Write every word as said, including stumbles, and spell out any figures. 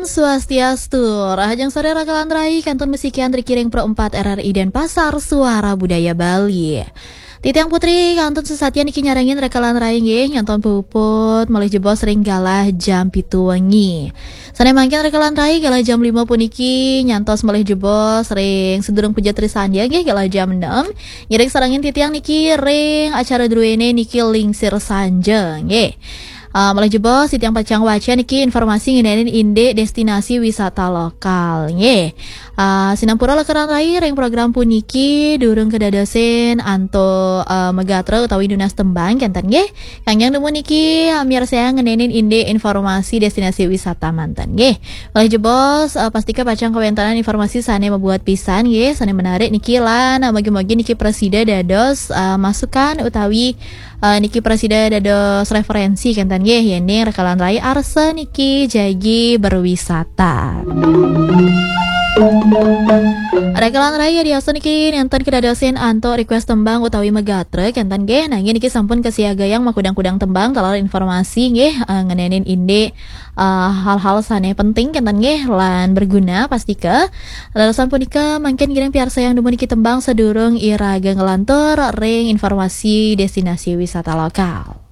Swastiastu, rahajeng sore Rakalan Rai, kantun masikian ring Pro empat R R I Denpasar, Suara Budaya Bali. Titiang Putri, kantun sasatian niki nyarengin Rakalan Rai nggih, nyantos puput malih jebos ring galah jam pitu wengi. Sane mangkin Rakalan Rai galah jam lima puniki nyantos malih jebos ring sadurung puja trisandya nggih galah jam enam. Ngiring sarengin titiang niki ring acara druene niki Lingsir Sanja nggih. Uh, malih jebos, titiang pacang waca niki informasi ngenenin indik destinasi wisata lokal nggih. Uh, sinampura Rakalan Rai ring program puniki durung kedadosin antuk uh, magatra utawi nunas tembang kenten nggih. Kangge nemu niki uh, miarsayang ngenenin indik informasi destinasi wisata manten nggih. Malih jebos, uh, pastika pacang kawentanan informasi sane mabuat pisan nggih, sane menarik niki lan uh, mugi-mugi niki prasida dados uh, masukan utawi uh, niki prasida dados referensi kenten nggih, yening Rakalan Rai arsa niki jagi berwisata. Rakalan Rai yadiasta niki nenten kedadosin antuk request tembang utawi magatra kenten nggih, nanging niki sampun kasiagayang makudang-kudang tembang taler informasi nggih, uh, ngenenin indik uh, hal-hal sane penting kenten nggih lan berguna pastika. Leresan punika mangkin ngiring piarsayang nemu niki tembang sadurung iraga nglantur ring informasi destinasi wisata lokal.